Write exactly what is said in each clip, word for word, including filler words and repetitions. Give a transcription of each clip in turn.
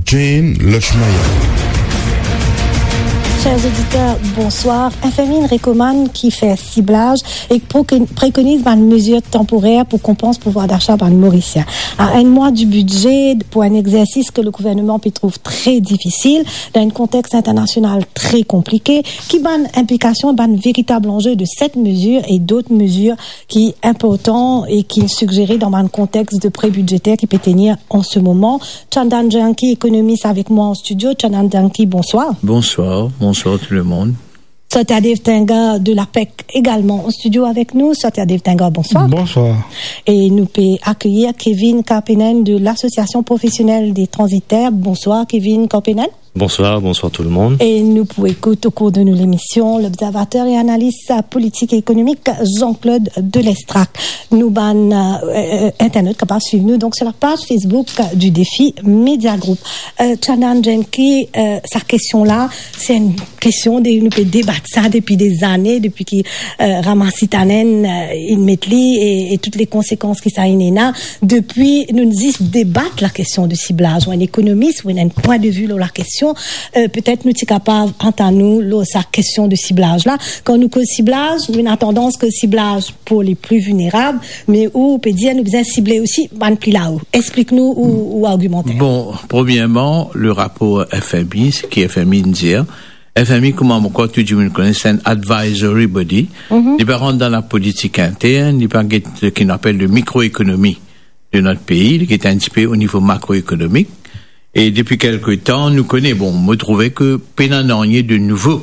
Jane Lachmaya. Chers auditeurs, bonsoir. F M I inn rekomann ki fer siblaz e prekoniz bann mezir tanporer pou konpans pouvwar dacha bann Morisien. A enn mwa di bidze, pou enn exersis ke le gouverneman pe trouv tre difisil, dan enn kontex internasional tre konplike, ki bann inplikasion, bann veritab anze de set mezir e dot mezir ki inportan e ki sigjere dan bann kontex de pre bidzeter ki pe tenir an se moman? Chandan Janki, ekonomis, avek mwa an stidio. Chandan Janki, bonswar. Bonsoir, bonsoir tout le monde. Satyadev Tengar de l'APEC egalman an stidio avek nou. Satyadev Tengar, bonswar. Bonsoir. E nou pe akeyir Kevin Karpenen de l'Association Professionnelle des Transitaires. Bonswar, Kevin Karpenen. Bonsoir, bonsoir tout le monde. E nou pou ekout o kour de nou lemision lobzervater e analis politik e ekonomik Jean-Claude Delestrac. Nou bann, euh, euh, internot kapav swiv nou, donk, sur la page Facebook du Défi Média Group. Euh, Chandan Janki, euh, sa kestion la, se enn kestion de, nou pe debat sa depi de zane, depi ki, euh, Ramasitanen, euh, inn met li e, e tout le konsekans ki sa inn ena. Depi nou zis debat la kestion de siblaz, ou enn ekonomis, ou ena enn pwin de vi lor la kestion, euh, petet nou ti kapav antann ou lor sa kestion de siblaz la. Kan nou koz siblaz, nou ena tandans koz siblaz pou le pli vilnerab, me ou pe dir nou bizin sible osi bann pli lao. Explik nou ou, ou argimantè. Bon, premierman, le rapor F M I, seki F M I inn dir, F M I, kouma mo krwar tou dimoun kone, se enn advisory body. Mhm. Li pa rant dan la politik intern, li pa get seki nou apel le mikroekonomi de not pei, li get enn tipe o nivo makroekonomik. E depi kelke tan, nou kone, bon, mo trouve ke pena nanye de nouvo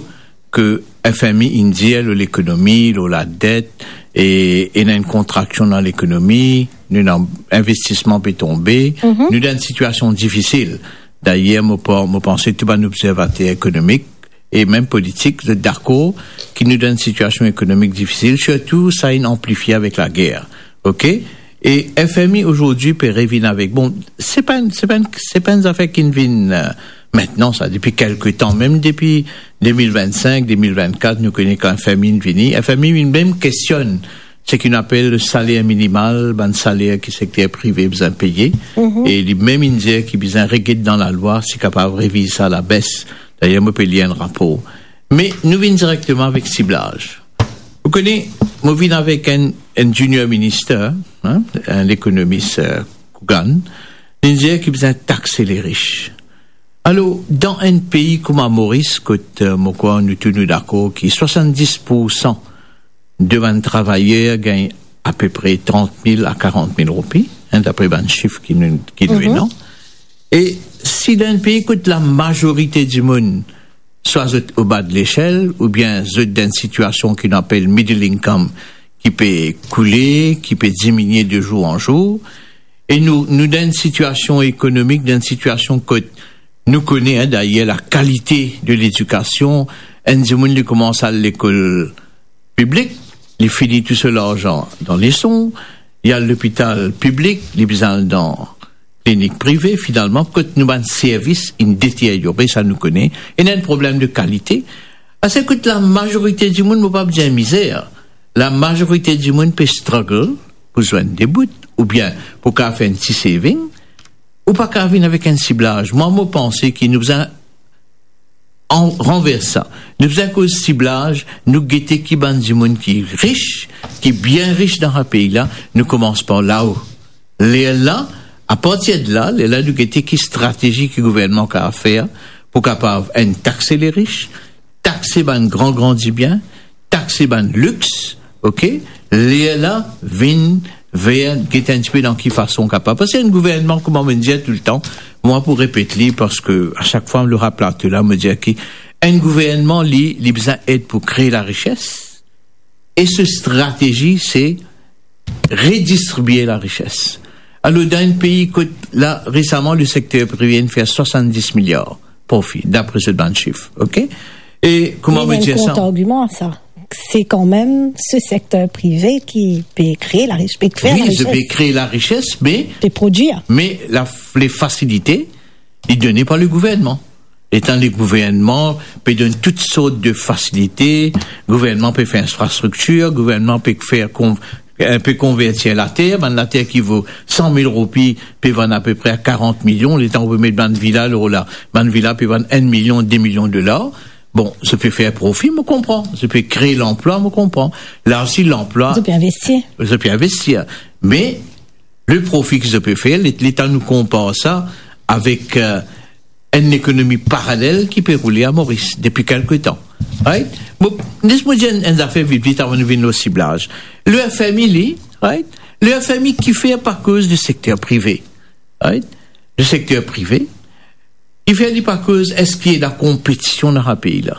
ke F M I inn dir lor lekonomi, lor ladet, e ena enn kontraksion dan lekonomi, nou ena investisman pe tonbe, mhm, nou dan enn sitiasion difisil. Dayer, mo pa-, mo panse tou bann obzervater ekonomik e mem politik, zot dakor ki nou dan enn sitiasion ekonomik difisil, sirtou sa inn anplifie avek lager. Ok? E F M I azordi pe revinn avek, bon, se pa enn, se pa enn, se pa enn zafer ki vinn, euh, mintnan sa, depi kelke tan, mem depi de mil vinn-sink, de mil vinn-kat, nou kone kan F M I inn vini, F M I inn mem kestionn seki nou apel le saler minimal, bann saler ki sekter prive bizin peye, mhm, e li mem inn dir ki bizin reget dan lalwa, si kapav reviz sa alabes. Dayer, mo pe lir enn rapor. Me nou vinn direkteman avek siblaz. Ou kone, mo vinn avek enn, enn junior minister, hein, enn lekonomis, euh, Coogan, li dir ki bizin takse leris. Alor, dan enn pei kouma Moris, kot, euh, mo krwar nou tou nou dakor ki swasanndis poursan de bann travayer gagn apepre trant mil a karant mil roupi, hein, dapre bann sif ki nou, ki nou, mhm, ena. E si dan enn pei kot lamazorite dimoun, swa zot oba de lesel, oubien zot dan enn sitiasion ki nou apel middle income, ki pe koule, ki pe diminie de zour an zour, e nou, nou dan enn sitiasion ekonomik, dan enn sitiasion kot nou kone, hein, dayer lakalite de ledikasion, enn dimoun li koumans al lekol piblik, li fini tou so larzan dan leson, li al lopital piblik, li bizin al dan klinik prive, finalman, kot nou bann servis inn deteryore, sa nou kone, ena enn problem de kalite. Aster kot lamazorite dimoun, mo pa pou dir mizer, lamazorite dimoun pe struggle pou zwenn de bout, oubien pou kapav fer enn ti saving, ou pa kapav vinn avek enn siblaz. Mwa, mo panse ki nou bizin an-, ranvers sa. Nou bizin koz siblaz, nou gete ki bann dimoun ki ris, ki bien ris dan sa pei la, nou koumans par lao. Lerla, apartir de la, lerla nou gete ki stratezi ki gouvernman kapav fer pou kapav, enn, takse leris, takse bann gran, gran dibien, takse bann lix, ok? Lerla vinn ver, get enn tipe dan ki fason kapav. Parski enn gouvernman, kouma mo dir toultan, mwa pou repet li, parski a sak fwa mo lor plato la, mo dir ki enn gouvernman, li, li bizin ed pou kre larises, e so stratezi, se redistribie larises. Alor, dan enn pei kot la, resaman, le sekter prive inn fer swasanndis miliar profi, dapre zot bann sif, ok? E kouma mo dir sa? Kontrargiman a sa, se kanmem so sekter prive ki pe kre larises, pe fer larises. Wi, zot pe kre larises, me, pe prodwir, me la, le fasilite, li done par le gouvernman. Letan le gouvernman pe donn tout sort de fasilite, gouvernman pe fer infrastriktir, gouvernman pe fer kon-, eh, pe konvertir later, bann later ki vo san mil roupi pe vann apepre a karant milion, letan ou pe met bann vila lor la, bann vila pe vann enn milion, de milion dolar. Bon, zot pe fer profi, mo konpran. Zot pe kre lanplwa, mo konpran. La osi, lanplwa, zot pe investir. Zot pe investir. Me le profi ki zot pe fer, le-, letan nou konpar sa avek, eh, enn lekonomi paralel ki pe roule a Moris depi kelke tan. Right? Bon, les mo dir enn, enn zafer vit vit avan nou vinn lor siblaz. Le F M I li, right? Le F M I kifer pa koz de sekter prive? Right? Le sekter prive, kifer li pa koz eski ena konpetision dan sa pei la?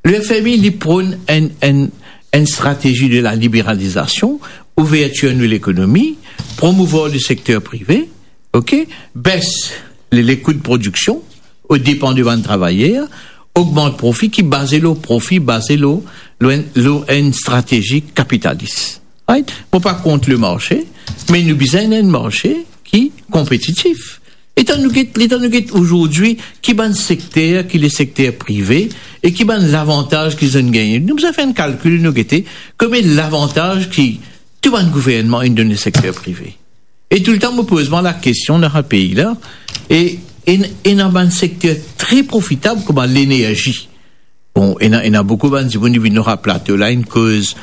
Le F M I, li pronn enn, enn, enn stratezi de la liberalizasion, ouvertir nou lekonomi, promouvwar le sekter prive, ok? Bes le, le kou de prodiksion, o depan de bann travayer, ogmant profi ki baze lor profi, baze lor, lor enn, lor enn stratezi kapitalis. Right? Mo pa kont le marse, me nou bizin enn marse ki konpetitif. Letan nou get, letan nou get azordi ki bann sekter ki le sekter prive e ki bann lavantaz ki zot inn gagne. Nou bizin fer enn kalkil, nou gete konbien lavantaz ki tou bann gouvernman inn donn le sekter prive. E toultan mo poz mwa lakestion dan sa pei la, e, e, ena bann sekter tre profitab kouma lenerzi. Bon, ena, ena boukou bann dimoun ki vinn lor sa plato la, inn koz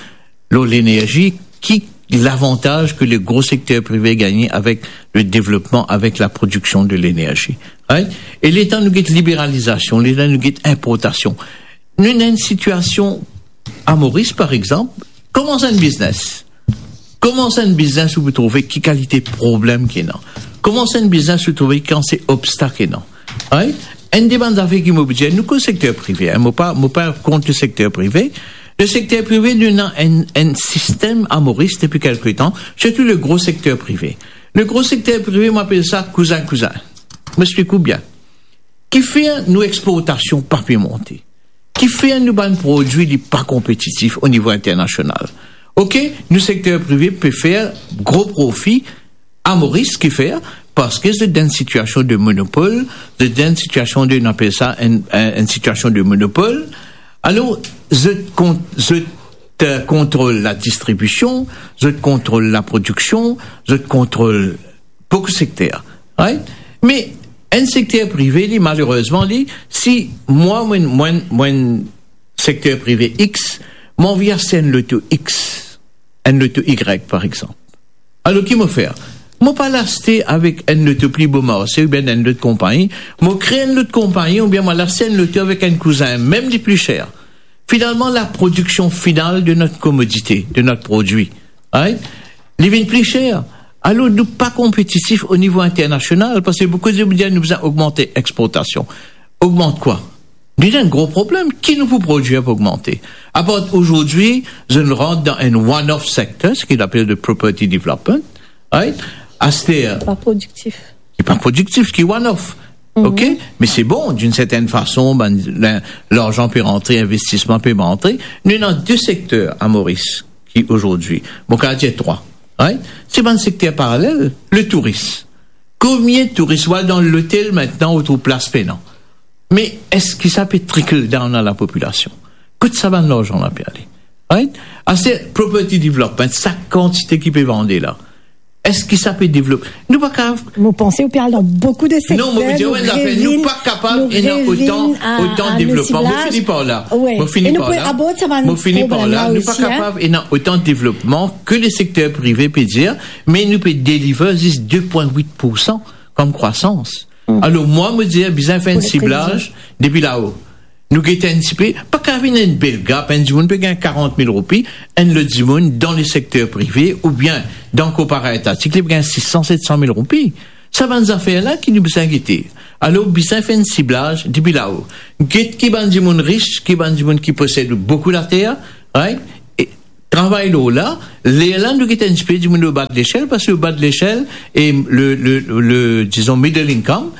lor lenerzi, ki lavantaz ke le gro sekter prive gagne avek le devlopman, avek la prodiksion de lenerzi. Right? E letan nou get liberalizasion, letan nou get inportasion, nou ena enn sitiasion a Moris, par exanp, koumans enn biznes. Koumans enn biznes, ou pou trouve ki kalite problem ki ena. Koumans enn biznes, ou trouve ki kalite obstak ena. Right? Enn de bann zafer ki mo pou dir, nou koz sekter prive, hein, mo pa, mo pa kont le sekter prive. Le sekter prive, nou ena enn, enn sistem a Moris depi kelke tan, sirtou le gro sekter prive. Le gro sekter prive, mo apel sa kouzin kouzin. Mo explik ou bien. Kifer nou exportasion pa pe monte? Kifer nou bann prodwi li pa konpetitif o nivo internasional? Ok, nou sekter prive pe fer gro profi a Moris, kifer? Parski zot dan enn sitiasion de monopol, zot dan enn sitiasion de, nou apel sa enn, enn, enn sitiasion de monopol. Alor, zot kont-, zot, euh, kontrol ladistribision, zot kontrol laprodiksion, zot kontrol boukou sekter, right? Me enn sekter prive, li, malerezman, li, si mwa, mwa, mwa, mwa sekter prive X, mo anvi aste enn loto X, enn loto Y, par exanp. Alor, ki mo fer? Mo pa al aste avek enn loto pli Beaumarchais oubien enn lot konpagni, mo kre enn lot konpagni, oubien mo al aste enn loto avek enn kouzin, mem li pli ser. Finalman, laprodiksion final de not komodite, de not prodwi, right? Li vinn pli ser. Alor, nou pa konpetitif o nivo internasional, parski boukou dimoun dir nou bizin ogmante exportasion. Ogmant kwa? Nou ena enn gro problem. Ki nou pou prodwir pou ogmante? Apar azordi, zot inn rant dan enn one-off sector, seki nou apel de property development, right? Aster, pa prodiktif. Ki pa prodiktif, ki one-off. Mhm. Ok? Me se bon, d'une certaine façon, bann, la-, larzan pe rantre, investisman pe rantre. Nou ena de sekter a Moris ki azordi, mo kapav dir trwa, right? Se bann sekter paralel, le touris. Konbien touris, ou al dan lotel aster, ou trouv plas pena. Me eski sa pe trickle down a lapopilasion? Kot sa bann larzan la pe ale? Right? Aster, property development, sa kantite ki pe vande la, eski sa pe devlope? Nou pa kapav. Mo panse ou pe al dan boukou de sekter. Non, mo pe dir, nou pa kapav ena otan, otan devlopman. Mo fini par la. Mo fini par la. Mo fini par la. Nou pa kapav ena otan devlopman ke le sekter prive pe dir, me nou pe deliver zis de pwin wit poursan kom krwasans. Alor, mwa, mo dir, bizin fer enn siblaz depi lao. Nou gete enn tipe, pa kapav ena enn bel gap, enn dimoun pe gagn karant mil roupi, enn lot dimoun dan le sekter prive oubien dan korpora etatik, li pe gagn sis san, set san mil roupi. Sa bann zafer la ki nou bizin gete. Alor, bizin fer enn siblaz depi lao. Get ki bann dimoun ris, ki bann dimoun ki posed boukou later, right? E travay lor la, lerla nou get enn tipe dimoun o ba de lesel, parski o ba de lesel e le, le, le, dizon, middle income,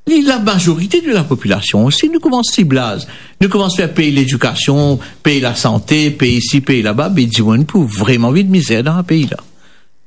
li lamazorite de lapopilasion osi. Nou koumans siblaz, nou koumans fer pey ledikasion, pey lasante, pey isi, pey laba, be dimoun pou vreman viv mizer dan sa pei la.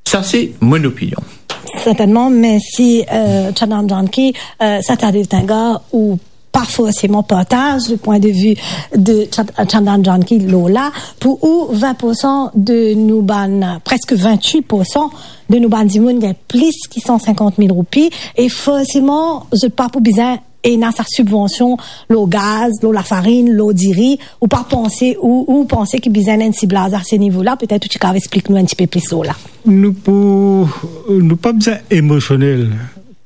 Sa se mo lopinion. Sertennman, mersi, euh, Chandan Janki, euh, Satadee Tanga, ou pa forseman partaz le pwin de vi de Chan-, Chandan Janki lor la, pou ou vin poursan de nou bann, preske vintwit poursan de nou bann dimoun gagn plis ki san sinkant mil roupi, e forseman, zot pa pou bizin ena sa sibvansion lor gaz, lor lafarinn, lor diri, ou pa panse, ou, ou panse ki bizin enn siblaz a se nivo la, petet ou ti kav explik nou enn tipe plis lor la. Nou pou, nou pa bizin emosionel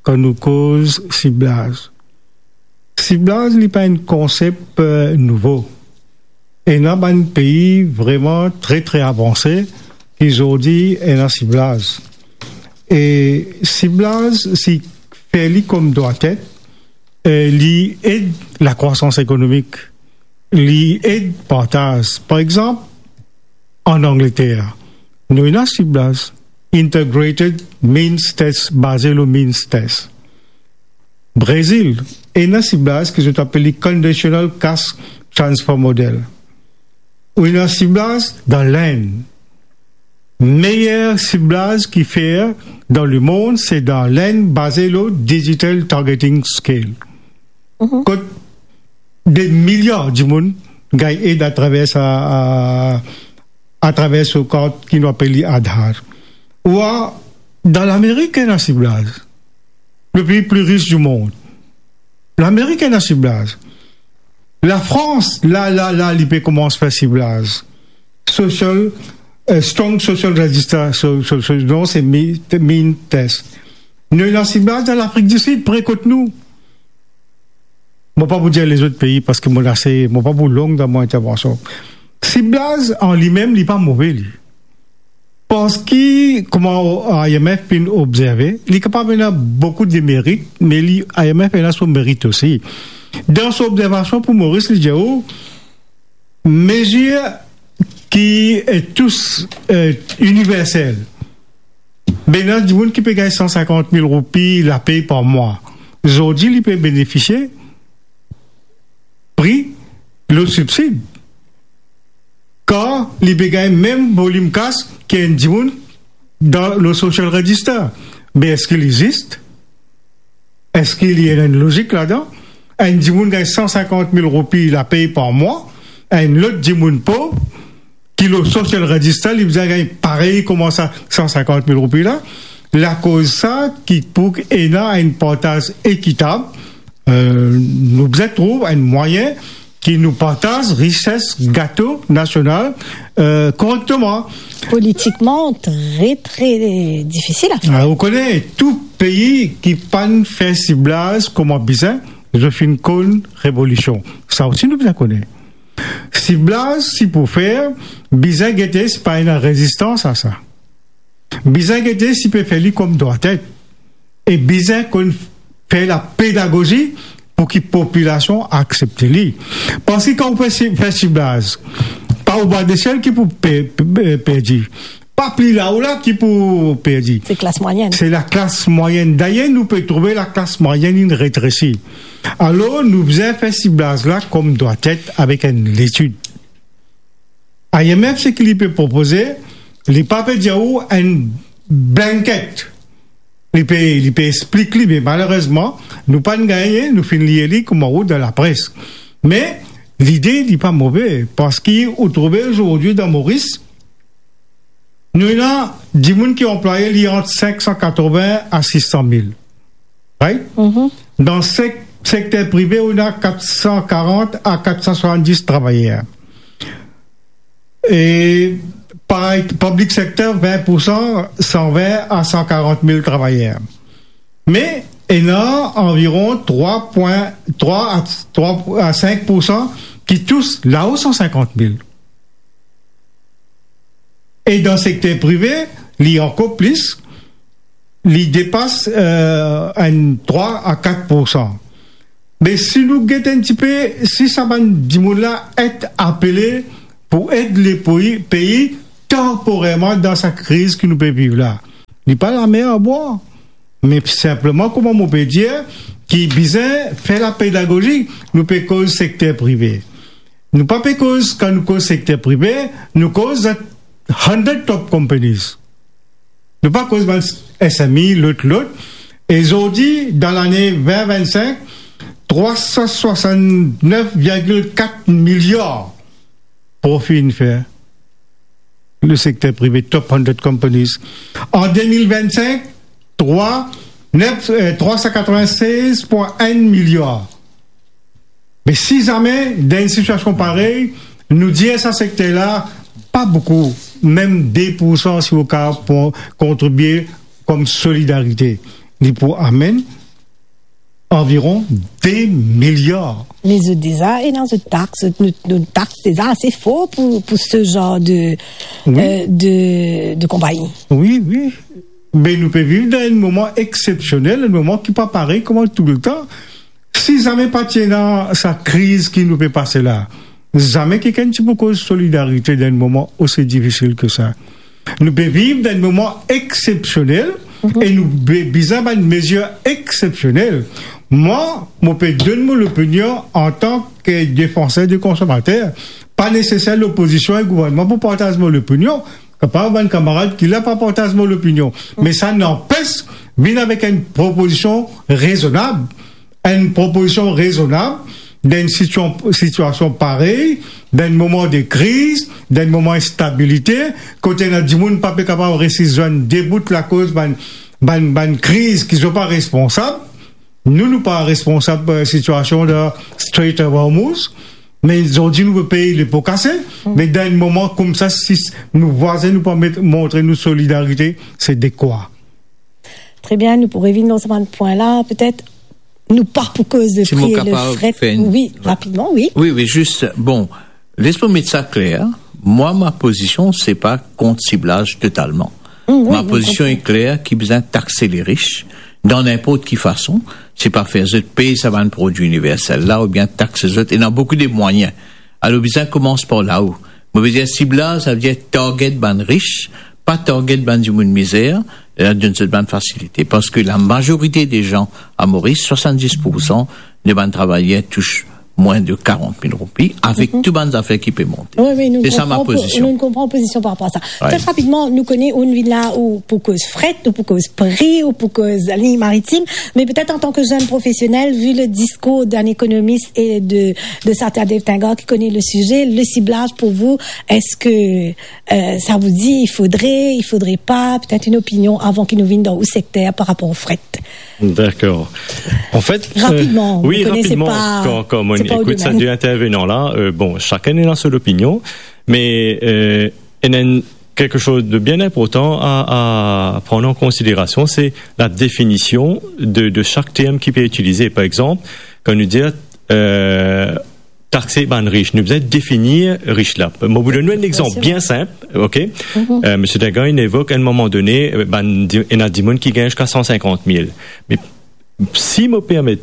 kan nou koz siblaz. Siblaz, li pa enn konsep, eh, nouvo. Ena bann pei vreman tre, tre avanse ki zordi ena siblaz. E siblaz, si fer li kouma dwatet, eh, li ed lakrwasans ekonomik, li ed partaz. Par exanp, an Angleter, nou ena siblaz, Integrated Means Test, baze lor means test. Brezil, ena siblaz ki zot apel li Conditional Cash Transfer Model. Ou ena siblaz dan Lenn. Meyer siblaz ki fer dan lemond, se dan Lenn, baze lor Digital Targeting Scale. Mhm. Kot de milyar dimoun gagn ed atraver sa, a, atraver so kart ki nou apel li Aadhaar. Ou a, dan Lamerik ena siblaz. Le pei pli ris di mond. Lamerik ena siblaz. Lafrans, la, la, la, li pe koumans fer siblaz. Social, eh, strong social register, so, so, so, non, se mi-, means test. Nou ena siblaz dan Lafrik di Sid, pre kot nou. Mo pa pou dir lezot pei, parski mo ase, mo pa pou long dan mo intervansion. Siblaz an limem, li pa move, li. Parski, kouma I M F finn obzerve, li kapav ena boukou demerit, me li, I M F ena so merit osi. Dan so obzervasion pou Moris, li dir ou, mezir ki, eh, tous, eh, iniversel. Be ena dimoun ki pe gagn san sinkant mil roupi lapey par mwa. Zordi, li pe benefisie pri lor sibsid. Kar li pe gagn mem volim kas ki enn dimoun dan le social register. Me eski li zis? Eski li ena enn lozik ladan? Enn dimoun gagn san sinkant mil roupi lapey par mwa, enn lot dimoun pov, ki lor social register, li bizin gagn parey kouma sa san sinkant mil roupi la. Lakoz sa ki pou ena enn partaz ekitab, eh, nou bizin trouv enn mwayin ki nou partaz rises gato nasional, eh, korekteman. Politikman, tre, tre difisil a fer. Ah, ou kone, tou pei ki pa'nn fer siblaz kouma bizin, zot finn konn revolision. Sa osi nou bizin kone. Siblaz, si pou fer, bizin gete si pa ena rezistans a sa. Bizin gete si pe fer li kouma dwatet. E bizin konn fer lapedagozi pou ki popilasion aksepte li. Parski kan ou pe si-, fer siblaz, pa ou bwa de sel ki pou pe-, pe-, perdi. Pa pli lao la ki pou perdi. Se klas mwayenn. Se laklas mwayenn. Dayer, nou pe trouve laklas mwayenn inn retresi. Alor, nou bizin fer siblaz la kouma dwatet avek enn letid. I M F, seki li pe propoze, li pa pe dir ou enn blanket. Li pe, li pe explik li, me malerezman, nou pa'nn gagne, nou finn lir li kouma ou dan lapres. Me lide, li pa move, parski ou trouve zordi dan Moris, nou ena dimoun ki anplwaye, li ant sink san katrovin a sis san mil. Right? Mhm. Dan sek-, sekter prive, ou ena kat san karant a kat san swasanndis travayer. E parey, piblik sekter, vin poursan, san vin a san karant mil travayer. Me ena anviron trwa pwin trwa a, trwa a sink poursan ki tous lao san sinkant mil. E dan sekter prive, li ankor plis, li depas, eh, enn trwa a kat poursan. Me si nou get enn tipe, si sa bann dimoun la et apele pou ed lepei, pei tanporerman dan sa kriz ki nou pe viv la, li pa lamer a bwar. Me sinpleman, kouma mo pe dir, ki bizin fer lapedagozi, nou pe koz sekter prive. Nou pa pe koz, kan nou koz sekter prive, nou koz zot hundred top companies. Nou pa koz bann S M E, lot, lot. E zordi, dan lane vin vinn-sink, trwa san swasann-nef virgil kat miliar profi inn fer le sekter prive, top hundred companies. An de mil vinn-sink, trwa, nef, eh, trwa san katrevin-sez pwin enn miliar. Me si zame, dan enn sitiasion parey, nou dir sa sekter la, pa boukou, mem de poursan si ou kapav pran, kontribie kom solidarite, li pou amenn anviron de miliar. Me zot deza ena zot tax, zot, nou, nou tax deza ase for pou, pou se zanr de, Wi. eh, de, de konpagni. Wi, wi. Me nou pe viv dan enn moman eksepsionel, enn moman ki pa parey kouma touletan. Si zame pa ti ena sa kriz ki nou pe pase la, zame kikenn ti pou koz solidarite dan enn moman osi difisil ke sa. Nou pe viv dan enn moman eksepsionel, Mhm. e nou be-, bizin bann mezir eksepsionel. Mwa, mo pe donn mo lopinion antan ke defanser de konsomater. Pa neseser lopozision e gouvernman pou partaz mo lopinion. Kapav bann kamarad ki la pa partaz mo lopinion. Me sa nanpes, vinn avek enn propozision rezonab. Enn propozision rezonab dan enn situa-, sitiasion parey, dan enn moman de kriz, dan enn moman instabilite, kote ena dimoun pa pe kapav resi zwenn de bout lakoz bann, bann, bann kriz ki zot pa responsab. Nou, nou pa responsab, eh, sitiasion dan Strait of Hormuz, me zordi nou pe pey lepo kase, Mm. me dan enn moman koumsa, si s-, nou vwazin nou pa met, montre nou solidarite, se dekwa. Tre bien, nou pou revinn lor sa bann pwin la, petet nou pa pou koz de pri le fret. Si mo kapav fer enn... Wi, rapidman, wi. Wi, wi, zis, bon, les mo met sa kler, mwa, ma pozision, se pa kont siblaz totalman. Mm, wi, ma pozision e kler ki bizin takse le rich dan ninport ki fason, se pa fer zot pey sa bann prodwi iniversel la oubien takse zot, ena boukou de mwayin. Alor, bizin koumans par lao. Mo ve dir siblaz, sa ve dir target bann rich, pa target bann dimoun mizer, e donn zot bann fasilite. Parski lamazorite de zan a Moris, swasanndis poursan de bann travayer tous mwin de karant mil roupi, avek Mhm. tou bann zafer ki pe monte. Wi, wi, nou... Se sa ma konpran po-, pozision. Nou konpran pozision par rapor a sa. Wi. Tre rapidman, nou kone ou vinn la ou pou koz fret, ou pou koz pri, ou pou koz liy maritim, me petet antan ke zenn profesionel, vi le diskour d'un économiste et de, de Satya Devthankar ki kone le size, le siblaz pou vou, eske, eh, sa vou dir, il faudrait, il faudrait pas, petet enn opinion avan ki nou vinn dan ou sekter par rapor o fret? Dakor. Anfet, eh, Rapidman, wi, nou kone se rapidman, pa, kan, kan mo se pa ou ekout sa domenn. De intervenan la, eh, bon, sakenn ena so lopinion, me, eh, ena enn, kiksoz de bien inportan a, a pran an konsiderasion, se la definision de, de sak term ki pe itilize. Par exanp, kan nou dir, eh, takse bann rich, nou bizin definir rich la. Mo pou donn nou enn exanp Forseman. Bien sinp, ok? Mhm. Eh, Misie Devthankar inn evok enn moman done, eh, bann di-, ena dimoun ki gagn ziska san sinkant mil. Me si mo permet,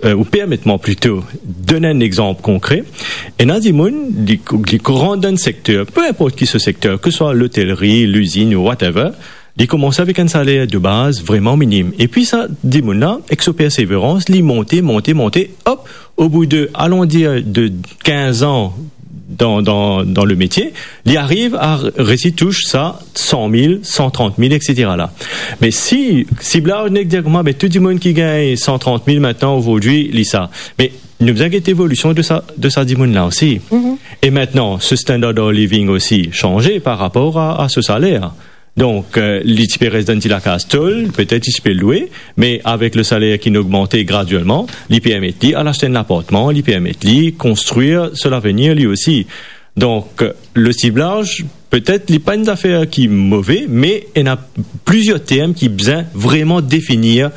eh, ou permet mwa plito donn enn exanp konkre, ena dimoun, li, li kouran dan enn sekter, pe inport ki so sekter, ke swa lotelri, lizinn ou whatever, li koumans avek enn saler de baz vreman minim. Epi sa dimoun la, ek so perseverans, li monte, monte, monte, op, o bout de, alon dir, de kinz an dan, dan, dan le metie, li ariv a resi tous sa san mil, san trant mil, et cetera la. Me si, si la, nou dir kouma, be, tou dimoun ki gagn san trant mil aster, li sa. Me nou bizin get evolision de sa, de sa dimoun la osi. Mhm. E aster, so standard of living osi sanze par rapor a, a so saler. Donk, eh, li ti pe res dan enn ti lakaz tol, petet li ti pe lwe, me avek le saler ki inn ogmante gradielman, li permet li al aste enn lapartman, li permet li konstrir so lavenir li osi. Donk, le siblaz, petet li pa enn zafer ki move, me ena plizier term ki bizin vreman definir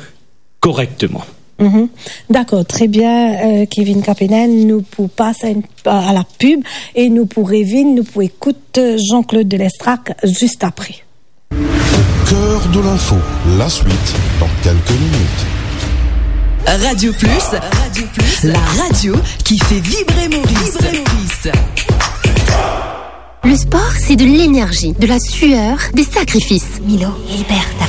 korekteman. Mhm. Dakor, tre bien, eh, Kevin Capenel, nou pou pas a enn, a la pib e nou pou revinn, nou pou ekout, eh, Jean-Claude Delestrac zis apre. Au cœur de l'info, la suite dans quelques minutes. Radio Plus, Radio Plus, la radio qui fait vibrer Maurice. Vibrer Maurice. Le sport, c'est de l'énergie, de la sueur, des sacrifices. Milo, libère ta